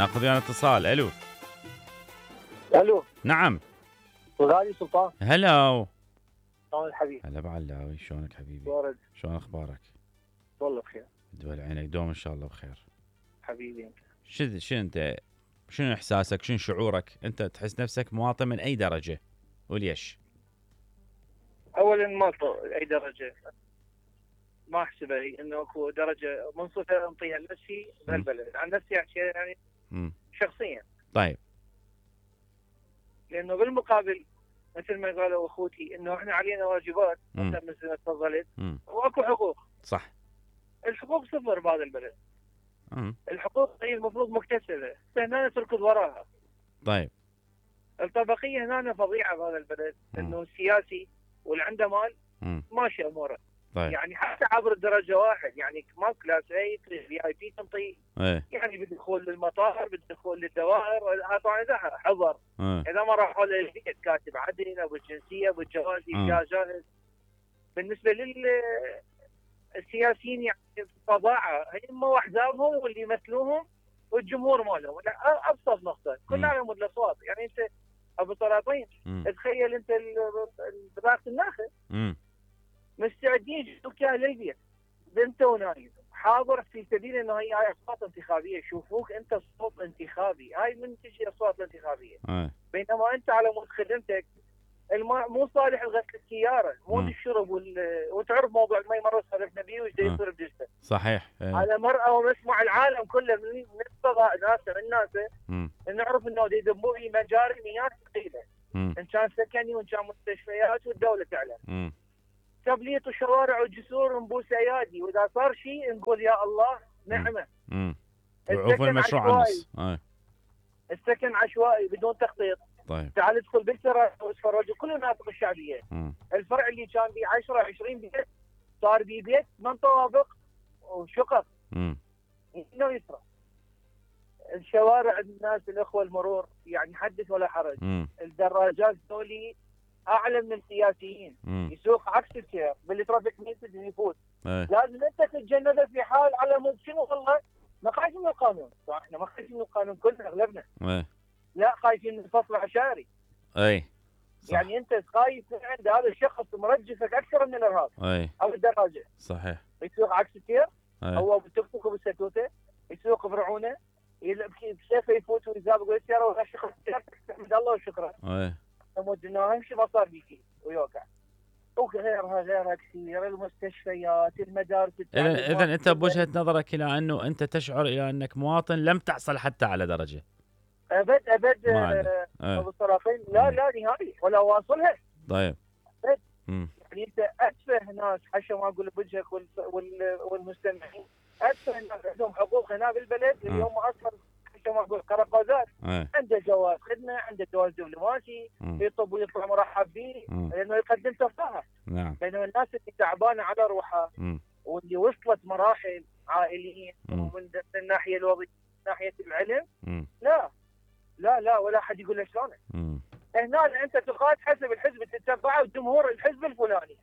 ناخذ ويانا اتصال. الو. الو. نعم. غالي سلطان. هلا. شلون الحبيب؟ هلا بعلاوي، شلونك حبيبي؟ ورد. شلون اخبارك؟ والله بخير. دول عينك دوم ان شاء الله بخير. حبيبي انت. شو انت، شنو احساسك، شنو شعورك؟ انت تحس نفسك مواطن من اي درجه وليش؟ اولا ما اي درجه ما احسبها انه اكو درجه منصفه انطيها لنفسي بهالبلد، عن نفسي احكي يعني شخصيا. طيب. لانه بالمقابل مثل ما قالوا اخوتي انه احنا علينا واجبات مثل ما تفضلت واكو حقوق. صح. الحقوق صفر بهذا البلد. الحقوق هي المفروض مكتسبه، هنا تركض وراها. طيب. الطبقيه هنا فظيعه بهذا البلد، انه السياسي واللي عنده مال ماشي اموره. طيب. يعني حتى عبر الدرجه واحد، يعني ما كلاس اي في اي بي تنطي. يعني بالدخول للمطار، بالدخول للدوائر، طبعا اذا حضر. اذا ما راحوا للبيت كاتب عدل ابو الجنسيه ابو الجواز يا جاهز. بالنسبه للسياسيين يعني فظاعه، هم واحزابهم واللي يمثلوهم والجمهور مالهم. ابسط نقطه كلنا على مود الاصوات. يعني انت ابو سلاطين تخيل انت رئاسه الناخب مستعدين يجوك اياها للبيت انت ونايم حاضر في سبيل انه هي اصوات انتخابيه، يشوفوك انت صوت انتخابي. هاي من تجي اصوات الانتخابيه. بينما انت على مود خدمتك الماء مو صالح لغسل السياره، مو للشرب وتعرف موضوع المي مره سولفنا بيه وش يصير بجسده. صحيح. على مرأى ومسمع العالم كله من نفسه ناسه من ناسه نعرف انه يذبوا في مجاري مياه ثقيله، ان كان سكني وان كان مستشفيات والدوله تعلم. تبليط الشوارع والجسور نبوس ايادي، واذا صار شيء نقول يا الله نعمه. وقوف المشروع النص. السكن عشوائي بدون تخطيط. طيب. تعال ادخل بالسراج واتفرج كل المناطق الشعبيه. الفرع اللي كان به 10 20 بيت صار به بيت 8 طوابق وشقق. انه يسرى. الشوارع الناس الاخوه المرور يعني حدث ولا حرج. الدراجات ذولي اعلى من السياسيين. يسوق عكس السير بالترافيك ميسج يفوت. لازم انت تتجنبه في حال على مود شنو والله ما خايفين من القانون. احنا ما خايفين من القانون كلنا اغلبنا. لا خايفين من الفصل العشائري. صح. يعني انت خايف عند هذا الشخص مرجفك اكثر من الارهاب. او الدراجه. صحيح. يسوق عكس السير هو بالتوك توك وبالسكوته، يسوق برعونه بسيفه يفوت ويسابق بالسياره ويغشق السياره تحمد الله وشكرا. مودنا امشي ما صار بيكي ويوقع. وغيرها كثير، المستشفيات، المدارس. اذا انت بوجهه نظرك الى انه انت تشعر الى انك مواطن لم تحصل حتى على درجه. ابد ابو سلاطين لا نهائي ولا واصلها. طيب. يعني انت اتفه ناس حشا ما اقول بوجهك والمستمعين، اتفه ناس عندهم حقوق هنا بالبلد اليوم اصلا حشا ما اقول قرقازات. عنده جواز خدمه، عنده جواز دبلوماسي، يطب ويطلع مرحب به لانه يقدم تفاهه. نعم. بينما الناس اللي تعبانه على روحها واللي وصلت مراحل عائليين ومن الناحيه الوظيفيه من ناحيه العلم لا ولا احد يقول له شلونه. هنا انت تقاد حسب الحزب اللي تتبعه وجمهور الحزب الفلاني.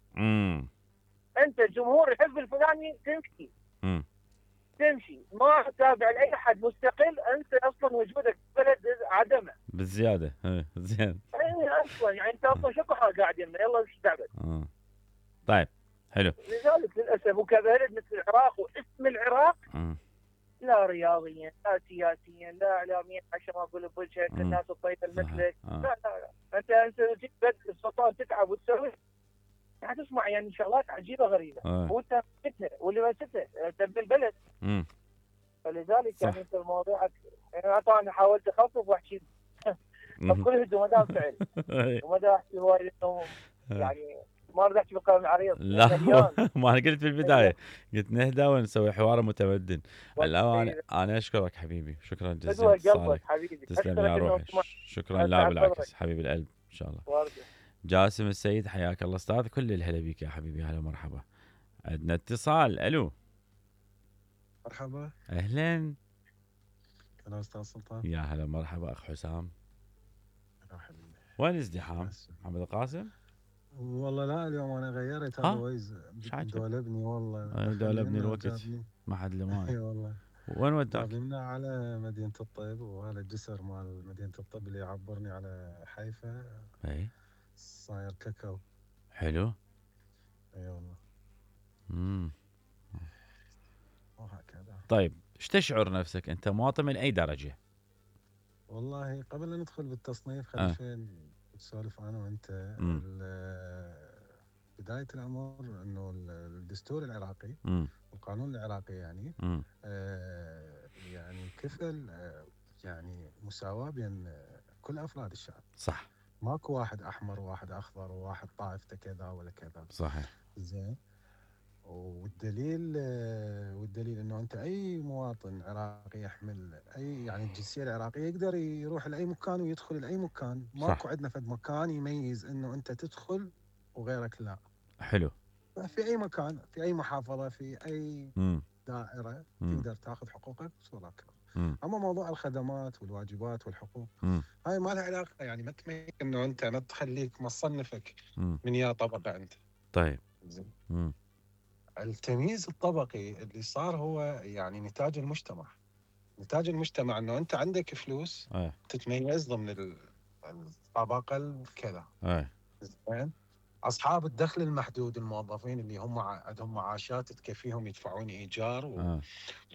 انت جمهور الحزب الفلاني تمشي ما تتابع لاي احد مستقل. انت اصلا وجودك بلد عدمه بالزياده. زين. اصلا يعني انت اصلا شكو قاعد يمنا يلا ايش تعبت. طيب حلو. لذلك للاسف وكبلد مثل العراق واسم العراق لا رياضيا لا سياسيا لا اعلاميا عشان ما اقول بوجهك الناس الطيبه مثلك. لا انت جيت بلد السلطان تتعب وتسوي يعني تسمع يعني شغلات عجيبه غريبه وانت مسكتها واللي مسكتها تبني البلد. فلذلك صح. يعني انت المواضيع يعني طبعا حاولت اخفف واحكي بكل هدوء ما دام فعل وما دام احكي هواي لانه يعني ما اريد احكي بالقلم العريض. لا ما انا قلت في البدايه قلت نهدى ونسوي حوار متمدن. انا اشكرك حبيبي، شكرا جزيلا اتصالك. تسلم يا روحي. شكرا. لا بالعكس حبيب القلب ان شاء الله. جاسم السيد حياك الله استاذ، كل الهلا بيك يا حبيبي. هلا مرحبا. عندنا اتصال. الو. مرحبا. اهلا. انا استاذ سلطان. يا هلا مرحبا اخ حسام. انا حبيبي. وين ازدحام؟ محمد القاسم؟ والله لا اليوم انا غيرت هذا ويز دولبني والله. دولبني الوقت ما حد لمان. اي والله وين وداك؟ جابلنا على مدينة الطيب، وهذا الجسر مال مدينة الطيب اللي يعبرني على حيفا. اي صاير كاكاو. حلو. اي والله. امم وهكذا. طيب ايش تشعر نفسك انت مواطن من اي درجه؟ والله قبل لا ندخل بالتصنيف خلي شوي نسولف انا وانت. بداية الأمر أنه الدستور العراقي والقانون العراقي يعني يعني كفل يعني مساواة بين كل أفراد الشعب. صح. ماكو واحد أحمر وواحد أخضر وواحد طائفته كذا ولا كذا. صحيح. زين. والدليل انه انت اي مواطن عراقي يحمل اي يعني الجنسيه العراقيه يقدر يروح لاي مكان ويدخل لاي مكان. ماكو عندنا فد مكان يميز انه انت تدخل وغيرك لا. حلو. في اي مكان، في اي محافظه، في اي دائره تقدر تاخذ حقوقك ولا اما موضوع الخدمات والواجبات والحقوق هاي ما لها علاقه، يعني ما تميز انه انت ما تخليك ما تصنفك من يا طبقه انت. طيب. زين. التمييز الطبقي اللي صار هو يعني نتاج المجتمع. نتاج المجتمع انه انت عندك فلوس تتميز ضمن الطبقه الكذا. زين. اصحاب الدخل المحدود، الموظفين اللي هم عندهم معاشات تكفيهم يدفعون ايجار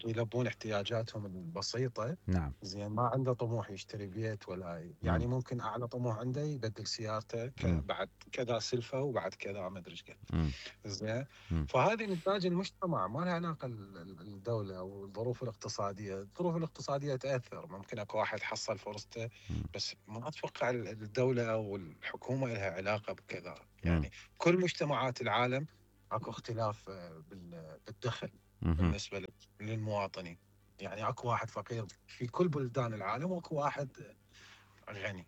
ويلبون احتياجاتهم البسيطه. نعم. زين. ما عنده طموح يشتري بيت ولا يعني ممكن اعلى طموح عنده يبدل سيارته بعد كذا سلفه وبعد كذا ما ادري ايش قد. زين. فهذه نتاج المجتمع، ما لها علاقه الدوله او الظروف الاقتصاديه. الظروف الاقتصاديه تاثر، ممكن اكو واحد حصل فرصته بس ما اتوقع الدوله او الحكومه لها علاقه بكذا. يعني كل مجتمعات العالم اكو اختلاف بالدخل بالنسبه للمواطنين. يعني اكو واحد فقير في كل بلدان العالم واكو واحد غني.